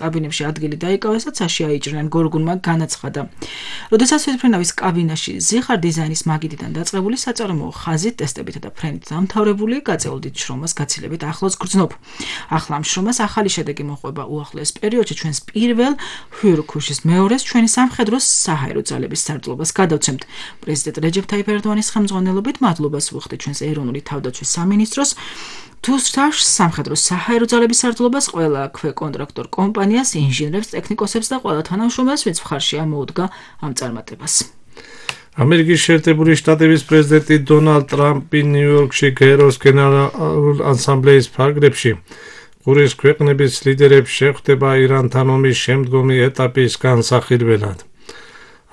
კაბინებში ადგილი დაიკავეს და ცაში აიჭრნენ, გორგუნმა განაცხადა. როდესაც თვითმფრინავის კაბინაში ზიხარ დიზაინის მაგიდიდან დაწყებული საწარმოო ხაზით, ტესტებითა და ფრენით დამთავრებული, გაწეულ დიდ შრომას გაცილებით ახლოს გრძნობ. ახლა ამ შრომას ახალი შედეგი მოყვება უახლოეს პერიოდში ჩვენს პირველ ჰიურქუშის მეორეს ჩვენი სამხედრო საჰაერო ძალების სარდლობას გადავცემთ. პრეზიდენტ რეჯეფ თაიფ ერდოანის ხელმძღვანელობით მადლობას ვუხდით ჩვენს ეროვნული თავდაცვის სამინისტროს, თუსრაშ სამხედრო საჰაერო ძალების სარდლობას, ყველა ქვეკონტრაქტორ კომპანიას, ინჟინრებს, ტექნიკოსებს და ყველა თანამშრომელს, ვინც მხარში ამოუდგა ამ წარმატებას. ამერიკის შეერთებული შტატების პრეზიდენტი დონალდ ტრამპი ნიუ-იორკში გაეროს გენერალურ ასამბლეის ფარგლებში ყურის ქვეყნების ლიდერებს შეხვდება ირანთან ომის შემდგომი ეტაპის განსახილველად.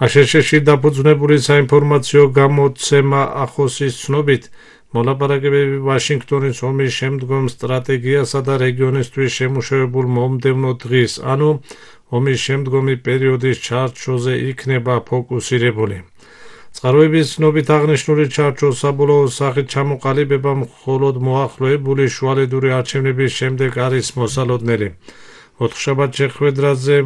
აშშ-ში დაფუძნებული საინფორმაციო გამოცემა ახოსის ცნობით, მოლაპარაკებები ვაშინგტონის ომის შემდგომ სტრატეგიასა და რეგიონისთვის შემუშავებულ მომდევნო დღის, ანუ ომის შემდგომი პერიოდის ჩარჩოზე იქნება ფოკუსირებული. წყაროების ცნობით აღნიშნული ჩარჩოს საბოლოო სახით ჩამოყალიბება მხოლოდ მოახლოებული შუალედური არჩევნების შემდეგ არის მოსალოდნელი. ოთხშაბათ შეხვედრაზე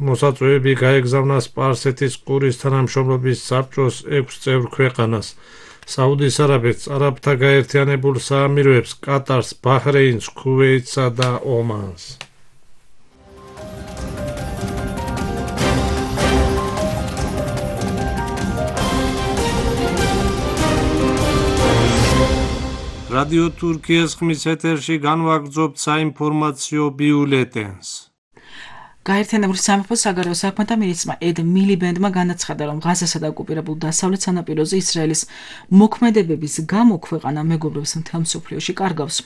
მოსაწვევები გაეგზავნა სპარსეთის ყურის თანამშრომლობის საბჭოს 6 წევრ ქვეყანას, საუდის არაბეთს, არაბთა გაერთიანებულ საამიროებს, კატარს, ბაჰრეინს, ქუვეითსა და ომანს. რადიო თურქიის ხმის ეთერში განვაგრძობთ საინფორმაციო ბიულეტენს. გაერთიანებული სამეფოს საგარეო საქმეთა მინისტრმა ედ მილიბენდმა განაცხადა, რომ ღაზასა და ოკუპირებულ დასავლეთ სანაპიროზე ისრაელის მოქმედებების გამო ქვეყანა მეგობრებს მთელ მსოფლიოში კარგავს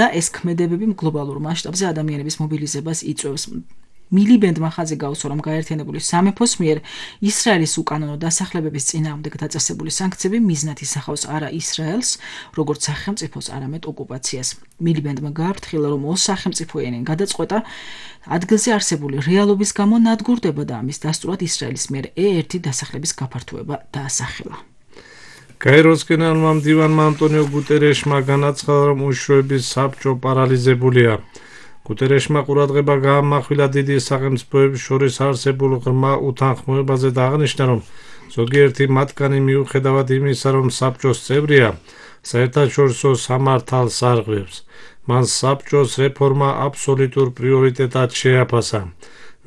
და ეს ქმედებები გლობალურ მასშტაბზე ადამიანების მობილიზებას იწვევს. მილიბენდმა ხაზი გაუსვა, რომ გაერთიანებული სამეფოს მიერ ისრაელის უკანონო დასახლებების წინააღმდეგ დაწესებული სანქციები მიზნად ისახავს არა ისრაელს, როგორც სახელმწიფოს, არამედ ოკუპაციას. მილიბენდმა გააფრთხილა, რომ ორსახელმწიფოიანი გადაწყვეტა ადგილზე არსებული რეალობის გამო ნადგურდება და ამის დასტურად ისრაელის მიერ E1 დასახლების გაფართოება დაასახელა. გაეროს გენერალურმა მდივანმა ანტონიო გუტერეშმა განაცხადა, რომ უშუალოების საბჭო პარალიზებულია. გუტერეშმა ყურადღება გაამახვილა დიდი სახელმწიფოების შორის არსებულ ღრმა უთანხმოებაზე და აღნიშნა, რომ ზოგიერთი მათგანი მიუხედავად იმისა, რომ საბჭოს წევრია, საერთაშორისო სამართალს არღვევს. მან საბჭოს რეფორმა აბსოლუტურ პრიორიტეტად შეაფასა.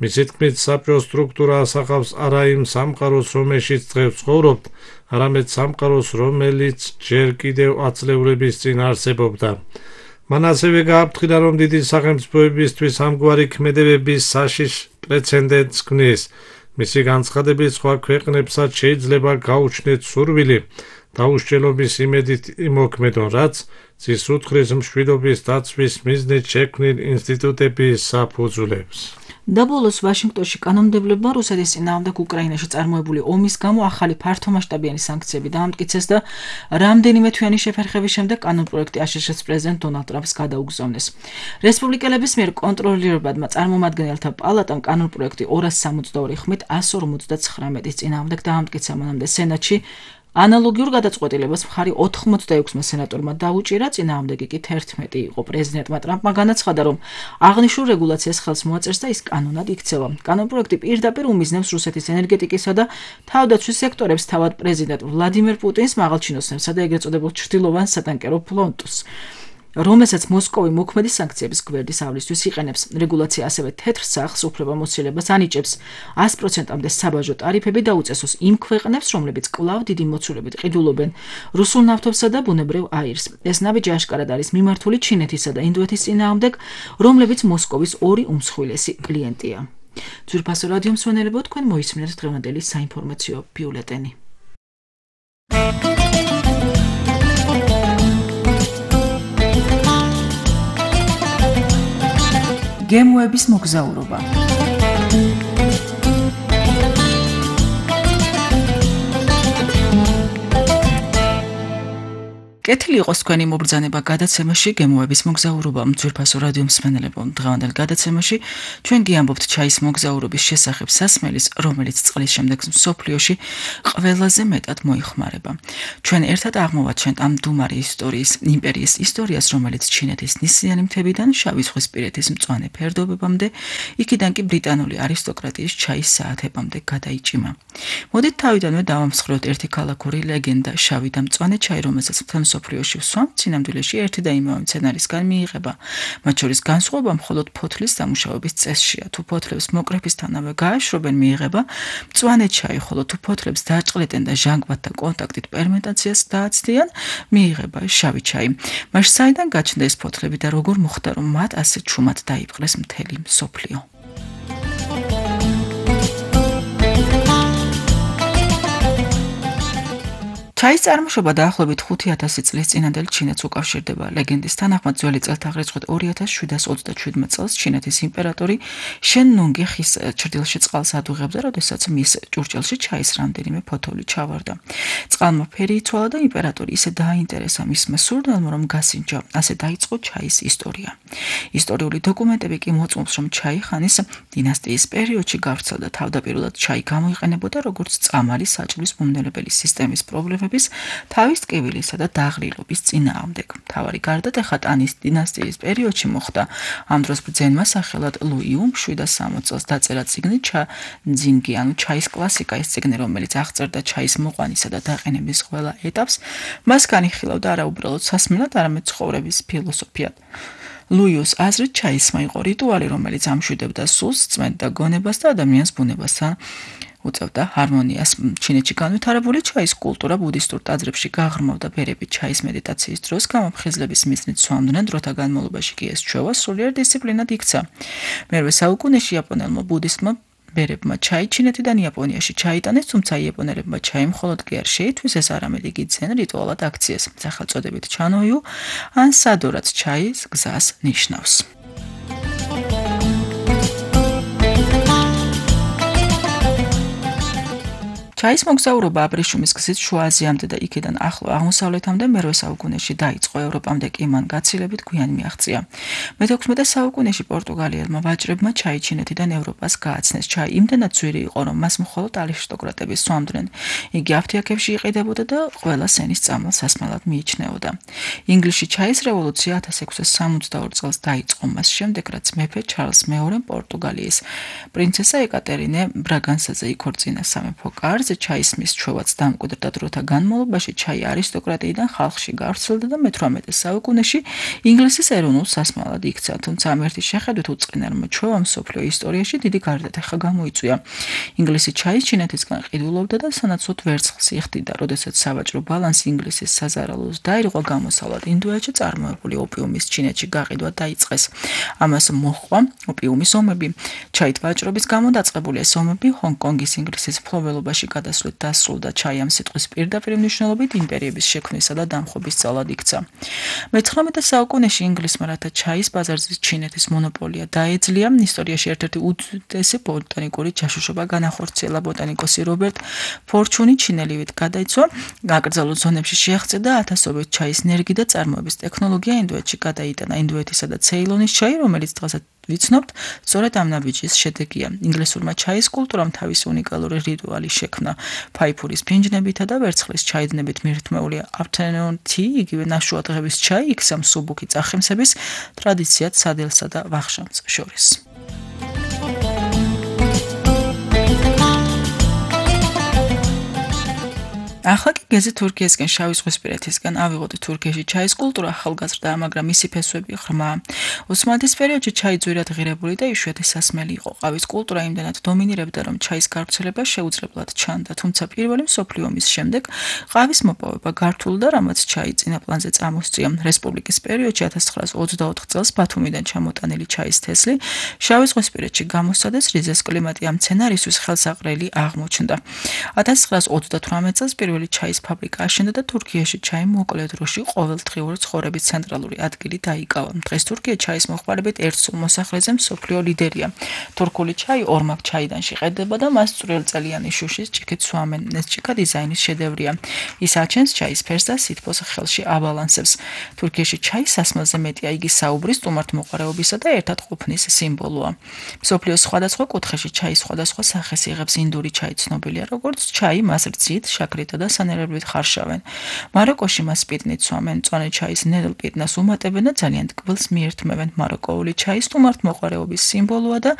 მისი თქმით, საბჭოს სტრუქტურა ასახავს არა იმ სამყაროს, რომელშიც დღეს ცხოვრობთ, არამედ სამყაროს, რომელიც ჯერ კიდევ ათწლეულების წინ არსებობდა. მან ასევე გააფრთხილა, რომ დიდი სახელმწიფოებისთვის ამგვარი ქმედებების საშიშ პრეცედენტს ქმნის. მისი განცხადებით, სხვა ქვეყნებსაც შეიძლება გაუჩნდეთ სურვილი დაუსჯელობის იმედით იმოქმედონ, რაც წინსრუთხრის მშვიდობის დაცვის მიზნით შექმნილ ინსტიტუტების საფუძვლებს. დაბოლოს ვაშინგტონში კანონმდებლებმა რუსეთის წინააღმდეგ უკრაინაში წარმოებული ომის გამო ახალი ფართომასშტაბიანი სანქციები დაამტკიცეს და რამდენიმე თვიანი შეფერხების შემდეგ კანონპროექტი აშშ-ს პრეზიდენტ დონალდ ტრამპს გადაუგზავნეს. რესპუბლიკელების მიერ კონტროლირებადმა წარმომადგენელთა პალატამ კანონპროექტი 262 ხმით 159 წინააღმდეგ დაამტკიცა, მანამდე სენატში ანალოგიურ გადაწყვეტილებას მხარი 86 სენატორმა დაუჭირა, წინააღმდეგი კი 11 იყო. პრეზიდენტმა ტრამპმა განაცხადა, რომ აღნიშნულ რეგულაციას ხელს მოაწერს და ის კანონად იქცევა. კანონპროექტი პირდაპირ უმიზნებს რუსეთის ენერგეტიკისა და თავდაცვის სექტორებს, თავად პრეზიდენტ ვლადიმერ პუტინს, მაღალჩინოსნებსა და ეგრეთ წოდებულ ჩრდილოვან სატანკერო ფლოტს, რომელსაც მოსკოვი მოქმედი სანქციების გვერდისავლისთვის იყენებს. რეგულაცია ასევე თეთრ სახლს უფლებამოსილებას ანიჭებს 100%-მდე საბაჟო ტარიფები დაუწესოს იმ ქვეყნებს, რომლებიც კვლავ დიდი მოცულებით ყიდულობენ რუსულ ნავთობსა და ბუნებრივ აირს. ეს ნაბიჯი აშკარად არის მიმართული ჩინეთისა და ინდოეთის წინააღმდეგ, რომლებიც მოსკოვის ორი უმსხვილესი კლიენტია. ძვირფასო რადიო მსმენელებო, თქვენ მოისმინეთ დღევანდელი საინფორმაციო ბიულეტენი. გემოების მოგზაურობა. კეთილი იყოს თქვენი მობრძანება გადაცემაში გემოების მოგზაურობა ძვირფასო რადიო მსმენელებო. დღევანდელ გადაცემაში ჩვენ გიამბობთ ჩაის მოგზაურობის შესახებ სასმელის, რომელიც წლის შემდეგ მსოფლიოში ყველაზე მეტად მოიხმარება. ჩვენ ერთად აღმოვაჩენთ ამ მდუმარი ისტორიის, იმპერიის ისტორიას, რომელიც ჩინეთის ნისლიანი მთებიდან შავი ზღვისპირეთის მწვანე ფერდობებამდე, იქიდან კი ბრიტანული არისტოკრატიის ჩაის საათებამდე გადაიჭიმა. მოდით თავიდანვე დავამსხვრევთ ერთი ქალაქური ლეგენდა, შავი და მწვანე ჩაი, რომელსაც მსოფლიოში ვსვამთ, სინამდვილეში ერთი და იმავე მცენარისგან მიიღება. მათ შორის განსხვავება მხოლოდ ფოთლის დამუშავების წესშია. თუ ფოთლებს მოკრეფისთანავე გააშრობენ, მიიღება მწვანე ჩაი, ხოლო თუ ფოთლებს დააჭყლეტენ და ჟანგბადთან კონტაქტით ფერმენტაციას დააცდიან, მიიღება შავი ჩაი. მაშ საიდან გაჩნდა ეს ფოთლები და როგორ მოხდა, რომ მათ ასე ჩუმად დაიპყრეს მთელი მსოფლიო? ჩაის წარმოშობა დაახლოებით 5000 წლის წინანდელ ჩინეთს უკავშირდება. ლეგენდის თანახმად ძველი წელთაღრიცხვით 2727 წელს ჩინეთის იმპერატორი შენ ნუნგი ხის ჭრდილში წყალს ადუღებდა, როდესაც მის ჭურჭელში ჩაის რამდენიმე ფოთოლი ჩავარდა. წყალმა ფერი იცვალა და იმპერატორი ისე დააინტერესა მისმა სურნელმა, რომ გასინჯა. ასე დაიწყო ჩაის ისტორია. ისტორიული დოკუმენტები კი მოწმობს, რომ ჩაი ხანის დინასტიის პერიოდში გავრცელდა. თავდაპირველად ჩაი გამოიყენებოდა როგორც წამალი საჭმლის მომნელებელი სისტემის პრობლემების, თავის ტკივილისა და დაღლილობის წინააღმდეგ. მთავარი გარდატეხა ტანის დინასტიის პერიოდში მოხდა. ამ დროს ბრძენმა სახელად ლუიუმ 760 წელს დაწერა წიგნი ჩანძინგი, ანუ ჩაის კლასიკა, ეს წიგნი, რომელიც აღწერდა ჩაის მოყვანისა და დაყენების ყველა ეტაპს, მას განიხილავდა არა უბრალოდ სასმელად, არამედ ცხოვრების ფილოსოფიად. ლუიუს აზრით ჩაისმა იყო რიტუალი, რომელიც ამშვიდებდა სულს, წმენდა გონებას და ადამიანის ბუნებასთან უწევდა ჰარმონიას. ჩინეთში განვითარებული ჩაის კულტურა ბუდისტურ ტაძრებში გაღრმავდა ბერები ჩაის მედიტაციის დროს, გამოფხიზლების მიზნით სვამდნენ, დროთა განმავლობაში კი ეს ჩვევა სულიერ დისციპლინად იქცა. მერვე საუკუნეში იაპონელმა ბუდისტმა ბერებმა ჩაი ჩინეთიდან იაპონიაში ჩაიტანეს, თუმცა იაპონელებმა ჩაი მხოლოდ კი არ შეითვისეს, არამედ იგი ძენ რიტუალად აქციეს. სახელწოდებით ჩანოიუ ან სადორაც ჩაის გზას ნიშნავს. ჩაის მოგზაურობა აბრეშუმის გზით შუა აზიამდე და იქიდან ახლო აღმოსავლეთამდე მერვე საუკუნეში დაიწყო. ევროპამდე კი მან გაცილებით გვიან მიაღწია. მე-16 საუკუნეში პორტუგალიელმა ვაჭრებმა ჩაი ჩინეთიდან ევროპას გააცნეს. ჩაი იმდენად ძვირი იყო, რომ მას მხოლოდ არისტოკრატები სვამდნენ. იგი აფთიაქებში იყიდებოდა და ყველა სენის წამალ სასმელად მიიჩნეოდა. ინგლისში ჩაის რევოლუცია 1662 წელს დაიწყო. მას შემდეგ, რაც მეფე ჩარლს მეორემ პორტუგალიის პრინცესა ეკატერინე ბრაგანსაზე იქორწინა სამეფო კარზე, ჩაისმის ჩვევაც დამკვიდრდა. დროთა განმავლობაში ჩაი არისტოკრატიიდან ხალხში გავრცელდა და მე-18 საუკუნეში ინგლისის ეროვნულ სასმელად იქცა. თუმცა ამ ერთი შეხედვით უწყინარმა ჩვევამ მსოფლიო ისტორიაში დიდი გარდატეხა გამოიწვია. ინგლისი ჩაის ჩინეთისგან ყიდულობდა და სანაცვლოდ ვერცხლს იხდიდა. როდესაც სავაჭრო ბალანსი ინგლისის საზარალოს დაირღვა, გამოსავლად ინდოეთში წარმოებული ოპიუმის ჩინეთში გაყიდვა დაიწყეს. ამას მოჰყვა ოპიუმის ომები. ჩაით ვაჭრობის გამო დაწყებული ეს ომები ჰონგ-კონგის ინგლისის მფლობელობაში გადასვლით დასრულდა. ჩაი ამ სიტყვის პირდაპირ მნიშვნელობით იმპერიების შექმნისა და დამხობის ძალად იქცა. მე-19 საუკუნეში ინგლისმა რათა ჩაის ბაზარზე ჩინეთის მონოპოლია დაეძლია, ისტორიაში ერთ-ერთი უდიდესი ბოტანიკური ჯაშუშობა განახორციელა. ბოტანიკოსი რობერტ ფორჩუნი ჩინელივით გადაიცვა, აკრძალულ ზონებში შეაღწევდა ათასობით ჩაის ნერგი და წარმოების ტექნოლოგია ინდოეთში გადაიტანა. ინდოეთისა და ცეილონის ჩაი, რომელიც დღესაც ვიცნობთ, სწორედ ამ ნაბიჯის შედეგია. ინგლისურმა ჩაის კულტურამ თავისი უნიკალური რიტუალი შექმნა. ფაიფურის ფინჯნებითა და ვერცხლის ჩაიდნებით მირთმეული afternoon tea, იგივე ნაშუა დღების ჩაი, იქცა მსუბუქი წახემსების ტრადიციად სადელსა და ვახშამს შორის. ახლა კი გეზი თურქიისკენ შავი ზღვისპირეთისგან ავიღოთ. თურქიაში ჩაის კულტურა ახალგაზრდა, მაგრამ მისი ფესვები ღრმა. ოსმალეთის პერიოდში ჩაი ძვირად ღირებული და იშვიათი სასმელი იყო. ყავის კულტურა იმდენად დომინირებდა, რომ ჩაის გავრცელება შეუძლებლად ჩანდა. თუმცა პირველი მსოფლიო ომის შემდეგ ყავის მოპოვება გართულდა, რამაც ჩაი წინა პლანზე წამოსწია. რესპუბლიკის პერიოდში 1924 წელს ბათუმიდან ჩამოტანილი ჩაის თესლი შავი ზღვისპირეთში გამოსცადეს, რიზეს კლიმატი ამ მცენარისთვის ხელსაყრელი აღმოჩნდა. 1928 წელს პირველი ჩაის ფაბრიკა აშენდა და თურქიაში ჩაი მოკლე დროში ყოველდღიური ცხოვრების ცენტრალური ადგილი დაიკავა. დღეს თურქია ჩაის მოხმარებით ერთ-სულ მოსახლეზე მსოფლიო ლიდერია. თურქული ჩაი ორმაგ ჩაიდან შეყრდება და მას წვრილწელიანი შუშის ჭიქით სვამენ. ეს ჭიქა დიზაინის შედევრია. ის აჩენს ჩაის ფერს და სითბოს ხელში აბალანსებს. თურქიაში ჩაის სასმელზე მეტია, იგი საუბრის, სტუმართმოყვარეობისა და ერთად ყოფნის სიმბოლოა. მსოფლიოს სხვადასხვა კუთხეში ჩაის სხვადასხვა სახეს იღებს. ინდური ჩაი ცნობილია როგორც ჩაი, მას რძით, შაქრითა და სანერებლით ხარშავენ. მაროკოში მას პიტნით სვამენ, მწვანე ჩაის ნედლ პიტნას უმატებენ და ძალიან ტკბილს მიერთმევენ. მაროკოული ჩაი სტუმართმოყვარეობის სიმბოლოა და